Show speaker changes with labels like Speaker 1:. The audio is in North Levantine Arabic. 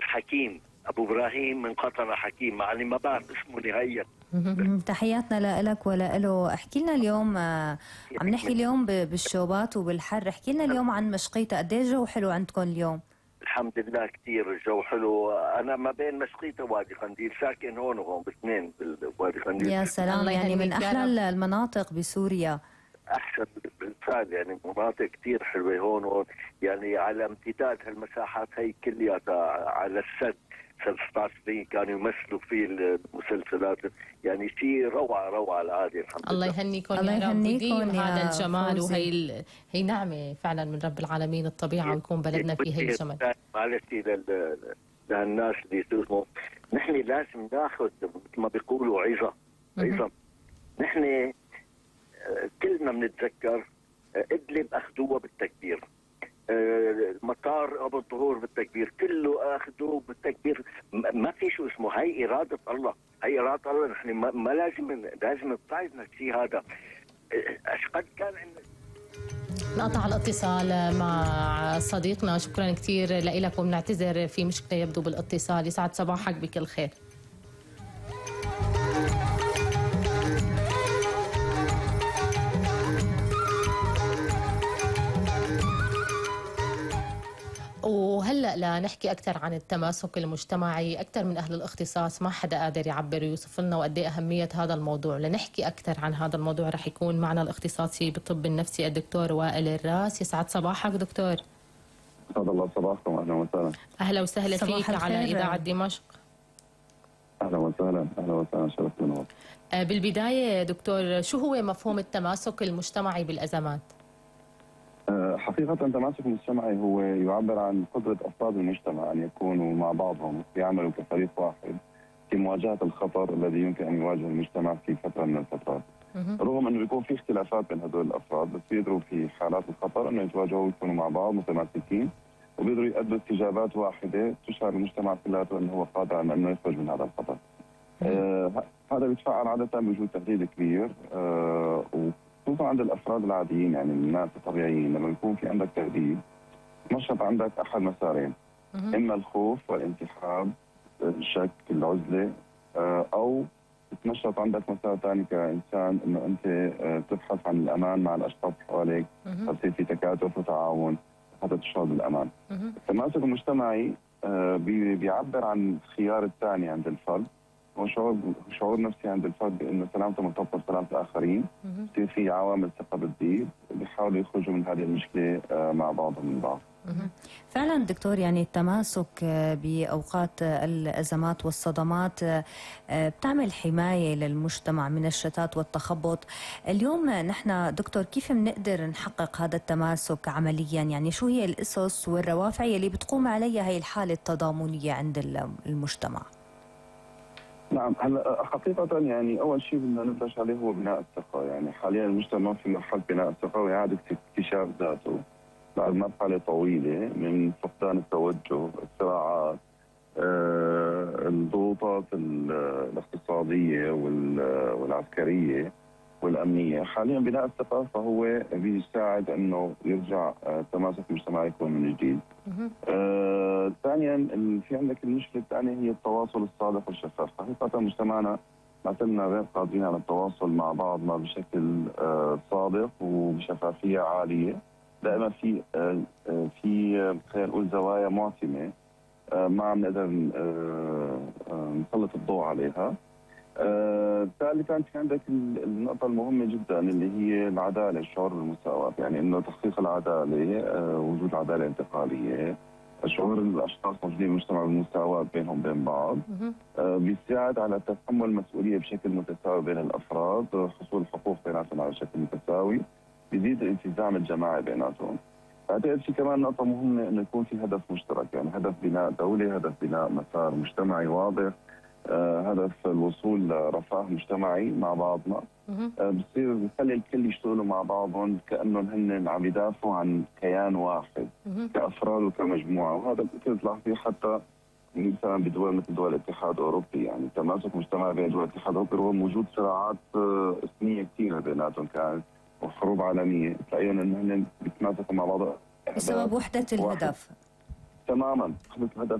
Speaker 1: حكيم ابو ابراهيم من قطر حكيم، يعني ما بعرف اسمه نهائيا.
Speaker 2: تحياتنا لك ولا. احكي لنا اليوم، عم نحكي اليوم بالشوبات وبالحر، احكي لنا اليوم عن مشقيتا، قد ايه الجو حلو عندكم اليوم؟
Speaker 1: الحمد لله كثير الجو حلو. انا ما بين مشقيتا ووادي قنديل، ساكن هون وهون باثنين بوادي قنديل.
Speaker 2: يا سلام، يعني من احلى المناطق بسوريا.
Speaker 1: احسن بالفعل، يعني مناطق كثير حلوه هون يعني على امتداد هالمساحات هي كلياتها على السد 16 كانوا يمثلوا فيه المسلسلات، يعني شيء روعه العادي. الحمد لله.
Speaker 3: الله يهنيكم يا رب وديم هذا الجمال، وهي هي نعمه فعلا من رب العالمين الطبيعه، ويكون بلدنا فيه هي الجمال.
Speaker 1: معلش للناس اللي يسمعوا، نحن لازم ناخذ مثل ما بيقولوا عظه. نحن كلنا بنتذكر ادلب اخذوها بالتكبير، مطار ابو الطهور بالتكبير، كله اخذوه بالتكبير. ما في شو اسمه، هي اراده الله، هي اراده الله. نحن ما لازم نبتعد الشيء هذا. قد كان
Speaker 3: نقطع الاتصال مع صديقنا، شكرا كثير لك وبنعتذر في مشكله يبدو بالاتصال. يسعد صباحك بكل خير. وهلأ لنحكي أكثر عن التماسك المجتمعي، أكثر من أهل الاختصاص ما حدا قادر يعبر ويوصف لنا وقد ايه أهمية هذا الموضوع. لنحكي أكثر عن هذا الموضوع رح يكون معنا الاختصاصي بالطب النفسي الدكتور وائل الراس. يسعد صباحك دكتور.
Speaker 4: أسعد الله صباحكم، أهلا وسهلا.
Speaker 3: أهلا وسهلا فيك على إذاعة دمشق.
Speaker 4: أهلا وسهلا شرفت بنور.
Speaker 3: بالبداية دكتور، شو هو مفهوم التماسك المجتمعي بالأزمات؟
Speaker 4: حقيقة التماسك المجتمعي هو يعبر عن قدرة أفراد المجتمع أن يكونوا مع بعضهم ويعملوا كفريق واحد في مواجهة الخطر الذي يمكن أن يواجه المجتمع في فترة من الفترات. رغم أنه يكون في اختلافات بين هذول الأفراد، بس بيقدروا في حالات الخطر أنه يتواجهوا ويكونوا مع بعض متماسكين، وبيقدروا يؤدوا استجابات واحدة تشعر المجتمع كلياته أنه هو قادر على أنه يخرج من هذا الخطر. هذا بيتفعل عادة بوجود تهديد كبير، خصوصا عند الافراد العاديين، يعني الناس الطبيعيين. لما يكون في عندك تهديد تنشط عندك احد مسارين، اما الخوف والانسحاب، الشك، العزله، او تنشط عندك مسار ثاني كانسان انه انت تبحث عن الامان مع الاشخاص حواليك، تصير في تكاتف وتعاون حتى تشعر بالامان. التماسك المجتمعي بيعبر عن الخيار الثاني عند الفرد، وشعور نفسي عند الفرد بانه سلامته مرتبطه بسلامه الاخرين، بصير في عوامل ثقه بتزيد، بيحاولوا يخرجوا من هذه المشكله مع بعضهم من بعض.
Speaker 2: فعلا دكتور، يعني التماسك باوقات الازمات والصدمات بتعمل حمايه للمجتمع من الشتات والتخبط. اليوم نحن دكتور كيف بنقدر نحقق هذا التماسك عمليا؟ يعني شو هي الاسس والروافع اللي بتقوم عليها هي الحاله التضامنيه عند المجتمع؟
Speaker 4: نعم، هلا حقيقة يعني أول شيء بدنا نبلش عليه هو بناء الثقة. يعني حاليا المجتمع في مرحلة بناء الثقة وإعادة اكتشاف ذاته بعد مرحلة طويلة من فقدان التوجه، الصراعات، الضغوطات الاقتصادية والعسكرية والأمنية. حاليا بناء الثقة فهو بيساعد أنه يرجع التماسك المجتمعي يكون من جديد. ثانيا في عندك المشكله الثانيه هي التواصل الصادق والشفاف. حقيقه مجتمعنا معتمدنا غير قادرين على التواصل مع بعضنا بشكل صادق وبشفافيه عاليه. دائما في خلينا نقول زوايا معتمه ما عم نقدر نسلط الضوء عليها. ثالثا في عندك النقطه المهمه جدا اللي هي العداله، الشعور بالمساواه، يعني انه تحقيق العداله، وجود عداله انتقاليه، شعور الاشخاص موجودين بالمجتمع بالمساواه بينهم بين بعض، بيساعد على تحمل المسؤوليه بشكل متساوي بين الافراد، حصول الحقوق بيناتهم على شكل متساوي، بيزيد الالتزام الجماعي بيناتهم. اعتقد في كمان نقطه مهمه انه يكون في هدف مشترك، يعني هدف بناء دوله، هدف بناء مسار مجتمعي واضح، هدف الوصول لرفاه مجتمعي مع بعضنا. بصير بخلي الكل يشتغلوا مع بعضهم كانهم هن عم يدافعوا عن كيان واحد كافراد وكمجموعه. وهذا كنت تلاحظيه حتى مثلا بدول مثل دول الاتحاد الاوروبي، يعني تماسك مجتمعي بين دول الاتحاد الاوروبي رغم وجود صراعات اثنيه كثيره بيناتهم كانت وحروب عالميه، تلاقيهم انه هن بيتماسكوا مع بعض
Speaker 2: بسبب وحده الهدف.
Speaker 4: تماما، وحده الهدف